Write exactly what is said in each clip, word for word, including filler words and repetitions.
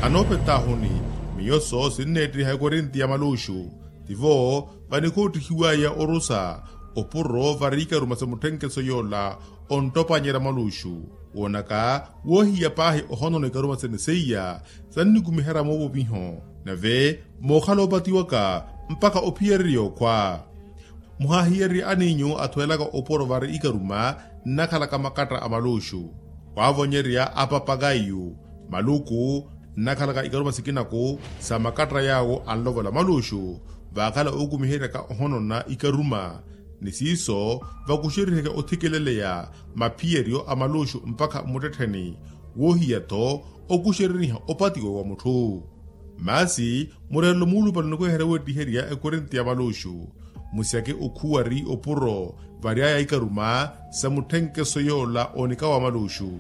Anoopetahuni, miyo so sinneettiha ekorinti ya maluxu. Tivo vanikhoottihiwaya orusa opuro vari ikaruma sa mutthenkeso yoola onttopanyerya maluxu. Woonaka woohiya paahi ohonona ikaruma sene seiya sannikumiherya moovoviho, nave mookhala opatiwaka mpakha ophiyererya okhwa. Muhaahiyererye aniinyu athwelaka opuro vari ikaruma nnakhalaka makatta a maluxu, waavonyerya apapakayu, maluku nnakhalaka ikaruma sikinaku sa makatta yaawo anlovola maluxu. Vaakhala ookumiheryaka ohonona ikaruma ni siiso vakuxeriheke othikeleleya maphiyeryo a maluxu mpakha mmuttettheni, woohiya-tho okuxereriha opatiwa wa mutthu. Masi mureerelo muulupale onikuweherya wettiherya ekorinti ya maluxu, musyake okhuwari opuro vary'aya ikaruma sa mutthenkeso yoola onika wa maluxu.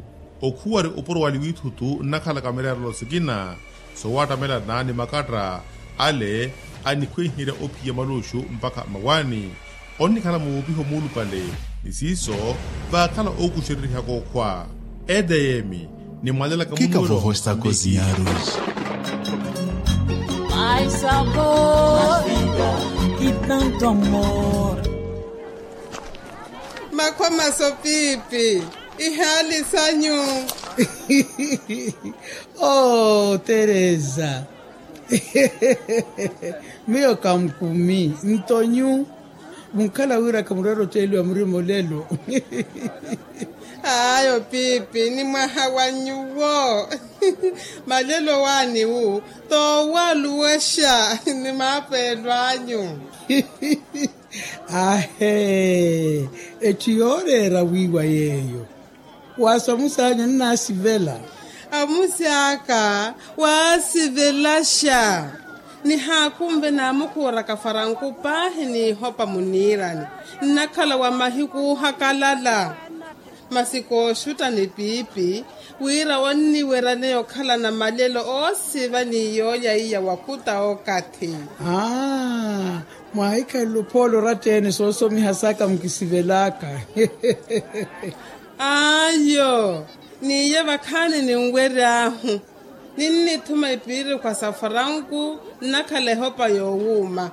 Okhuwari opuro wali wiithutu nnakhalaka mireerelo sikina sowaattamelana ni makatta ale anikhwenherya ophiya maluxu mpakha mmawaani. Onnikhala muwuupiho muulupale ni siiso vaakhala ookuxererihaka okhwa. Edeyemi ni mwalelaka munuwelo. Kikavoho estakozinyaruji. Ai sabor ki tanto amor. Makhwa maso piipi ihaali sanyu. Oh teresa. Miyo kankumi ntonyu. Munkhala wira khamurwera oteeliwa murima olelo. Ayo piipi ni mwaha wa nyuwo. Malelo waaniwu toowaluwexa ni maapeelo anyu. Ahe. Etthu yooreera wiiwa yeeyo. Waasa omusi anyu nnaasivela. Omusi aka waasivelaxa. Nihaakunve naamukhuuraka faranku paahi n'ihopa muniirani. Nnakhala wa mahiku oohakalala. Masi kooxutta ni piipi wira onniweryaneya okhalana malelo oosiva ni yoolya iya wakhuta okathi. Aa. Mwaahikhalele ophoolo oratta-ene soosomihasaka mukisivelaka. Ayo. N'iye vakhaani ninwery'ahu ninnithuma ipiirikhwa sa faranku nnakhala ehopa yoowuuma.